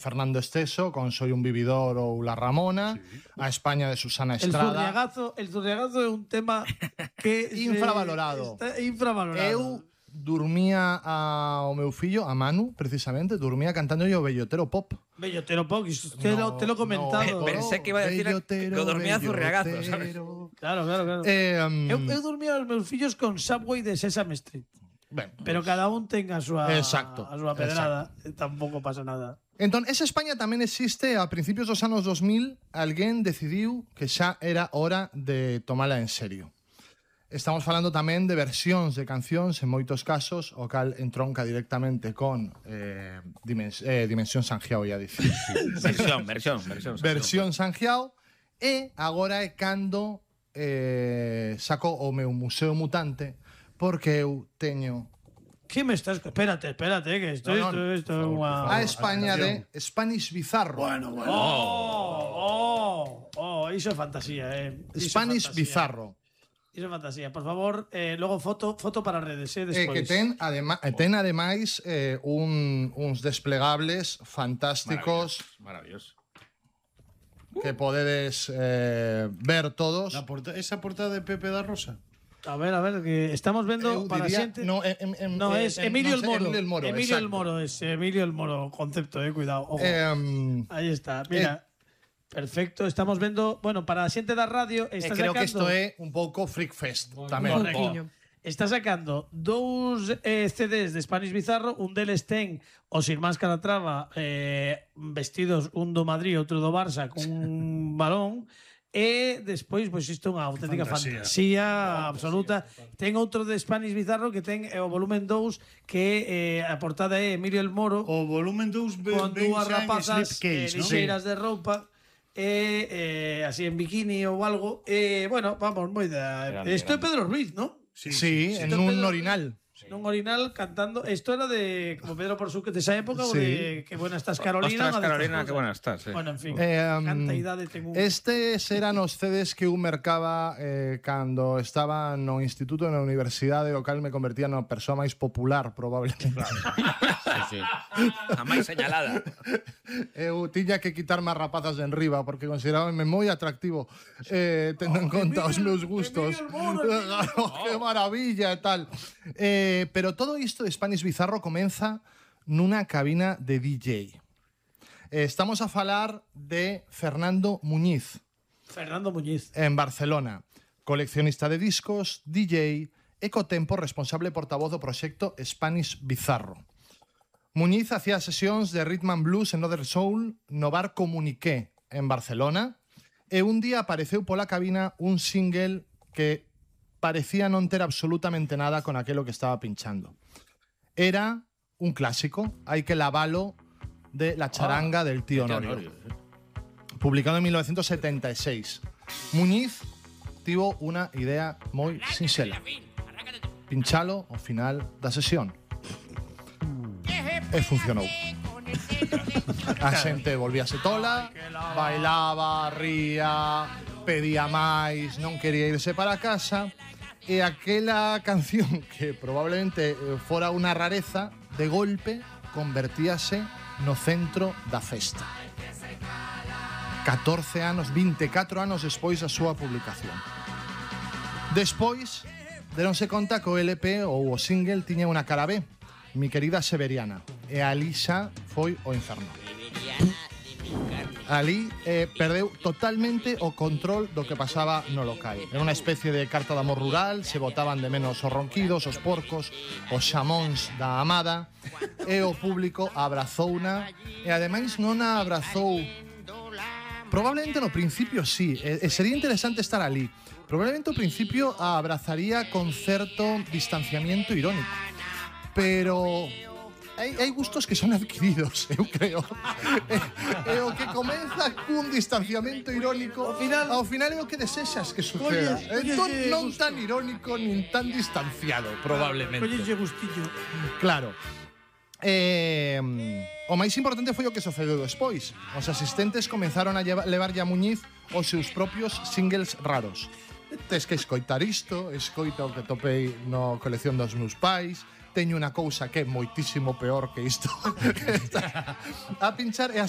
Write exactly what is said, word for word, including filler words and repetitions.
Fernando Esteso con Soy un vividor ou La Ramona, sí. A España de Susana Estrada. El Zurriagazo, el Zurriagazo é un tema que infravalorado. Está infravalorado. Eu dormía ao meu fillo, a Manu, precisamente, dormía cantando yo Bellotero Pop. Bellotero Pop, te, no, lo, te lo he comentado. No, pensé que iba a decir que dormía Zurriagazo, ¿sabes? Claro, claro, claro. Eh, um, eu, eu dormía aos meus fillos con Subway de Sesame Street. Ben, pero pues, cada un ten a súa, exacto, a súa pedrada. Exacto. Tampouco pasa nada. Entón, esa España tamén existe a principios dos anos dos mil. Alguén decidiu que xa era hora de tomala en serio. Estamos falando tamén de versións de cancións, en moitos casos, o cal entronca directamente con eh, dimens eh, Dimensión Sanjiao, ia dicir. versión, versión, versión. Versión Sanjiao. E agora é cando eh, saco o meu Museo Mutante, porque eu teño... ¿Qué me estás...? Espérate, espérate, que esto, no, no, esto, esto es una... A España de Spanish Bizarro. Bueno, bueno. Oh, oh, oh, iso é fantasía, eh. Iso Spanish fantasía. Bizarro. Iso é fantasía. Por favor, eh, logo foto foto para redes, eh, despois. Eh, que ten, adema ten ademais eh, un, uns desplegables fantásticos. Maravilloso. Que podedes eh, ver todos. La porta esa portada de Pepe da Rosa. A ver, a ver, que estamos vendo para diría, xente. No, em, em, no eh, es Emilio, no sé, el Moro. Emilio el Moro. Emilio el Moro es Emilio el Moro, concepto, eh, cuidado. Ojo. Eh, Ahí está, mira. Eh, perfecto, estamos vendo, bueno, para a xente da radio está eh, creo sacando, que isto é un pouco Freak Fest tamén. Oh. Está sacando dous eh, C Ds de Spanish Bizarro, un deles ten os irmáns Calatrava eh, vestidos un do Madrid, outro do Barça con un balón. E despois, pois isto é unha auténtica fantasía, fantasía absoluta. Fantasía. Ten outro de Spanish Bizarro que ten o volumen dous, que eh, a portada é Emilio el Moro. O volumen dous con dúas rapazas eh, lixeiras ¿no? de roupa e eh, así en bikini ou algo. E, bueno, vamos, moi da... Isto é Pedro Ruiz, ¿no? Sí, sí, sí, en un Pedro, orinal. En un orinal cantando. ¿Esto era de como Pedro Porsuque de esa época sí. o de Qué buena estás, Carolina? Ostras, Carolina, qué buena estás. Sí. Bueno, en fin. Eh, um, canta idade tengo un... Estes eran os C Ds que eu mercaba eh, cando estaba no instituto e na universidade, o cal me convertía na persoa máis popular, probablemente. Sí, sí. A máis señalada. Eu tiña que quitarme as rapazas de enriba porque considerábame moi atractivo eh, tendo oh, en conta Emilio, os meus gustos. Oh, ¡qué maravilla e tal! Eh, pero todo isto de Spanish Bizarro comeza nunha cabina de D J. Eh, estamos a falar de Fernando Muñiz. Fernando Muñiz. En Barcelona. Coleccionista de discos, D J e co tempo responsable portavoz do proxecto Spanish Bizarro. Muñiz hacía sesións de Rhythm and Blues en Other Soul no bar Comuniqué en Barcelona e un día apareceu pola cabina un single que parecía non ter absolutamente nada con aquelo que estaba pinchando. Era un clásico, Hai que lavalo, de La charanga ah, del tío Norio, publicado en mil novecientos setenta e seis. Muñiz tivo unha idea moi sinxela: pinchalo ao final da sesión. E funcionou. A xente volvíase tola, bailaba, ría, pedía máis, non quería irse para casa. E aquela canción que probablemente fora unha rareza, de golpe convertíase no centro da festa. catorce anos, vinte e catro anos despois da súa publicación. Despois, deronse conta que o L P ou o single tiña unha cara B, Mi querida Severiana, e ali xa foi o inferno. Ali eh, perdeu totalmente o control do que pasaba no local. Era unha especie de carta de amor rural, se botaban de menos os ronquidos, os porcos, os xamóns da amada, e o público abrazouna, e ademais non a abrazou. Probablemente no principio sí, e, e sería interesante estar ali. Probablemente ao principio a abrazaría con certo distanciamiento irónico. Pero hai, hai gustos que son adquiridos, eu creo. e, e o que comeza cun distanciamento irónico, ao final, ao final é o que desexas que suceda. Entón non tan irónico nin tan distanciado, probablemente. Collelle gustillo. Claro. Eh, o máis importante foi o que sucedeu despois. Os asistentes comenzaron a llevar, levar a Muñiz os seus propios singles raros. Tes que escoitar isto, escoita o que topei no colección dos meus pais. Teño unha cousa que é moitísimo peor que isto. A pinchar, e así